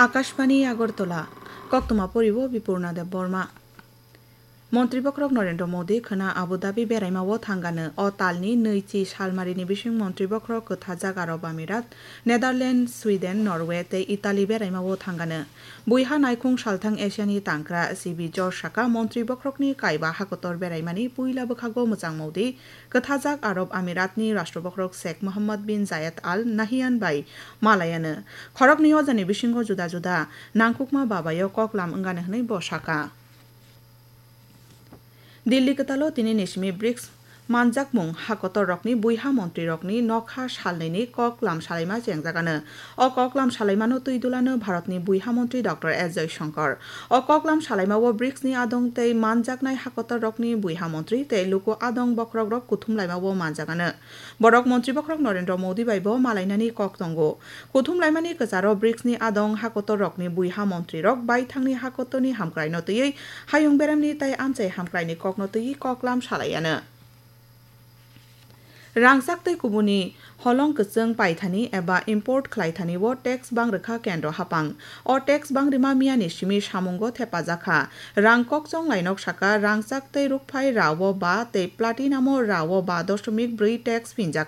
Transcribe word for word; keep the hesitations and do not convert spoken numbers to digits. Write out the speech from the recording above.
Akashbani Agartala, koktwma poribo Bipurna Debbarma. Montri bokhorok Narendra Modi khwna Abu Dhabi beraimao thangano. O talni nwichi salmarini bising montri bokhorok kwthajak Arab Amirat, Netherlands, Sweden, Norway tei Italy beraimao thangano. Buiha naikhung salthang Asiani tangkra C B George saka montri bokhorokni kaiba hakotor beraimani puila bwkhago mwchang Modi kwthajak Arab Amiratni Rashtra bokhorok Sheikh Mohammed bin Zayed Al Nahyan bai malayano. Khoroknwi ojani bisingo juda juda nangkukma babaio koklam wngani hwnwi bo saka. Delhi kwtalo tini ni simi brics manjakmung hakotor rokni buiha montri rokni nokha salnwi ni koklam salaima chengjagano. O koklam salaimano twi dulano Bharatni buiha montri Doctor S Jaishankar. O koklam salaimao brics ni adong tei manjaknai hakotor rokni buiha montri tei luku adong bokhorok rok kuthum laimao manjagano. Borok montri bokhorok Narendra Modi bai bo malainani kok tongo. Kuthum laimani kwcharo brics ni adong hakotor rokni buiha montri rok baithangni hakotorni hamkraino twiwi hayung beremni tei amchai hamkraini kokno twiwi koklam salaiano. Rangchak tei kubuni holong kwchwng paithani eba import khlaithani o tax bangrwkha kendro hapang. O tax bangrima miyani simi samungo thepajakha. Rang kokchong lainok saka rangchak tei rukphai rao ba tei platinum o rao ba doshomik brwi tax phinjak.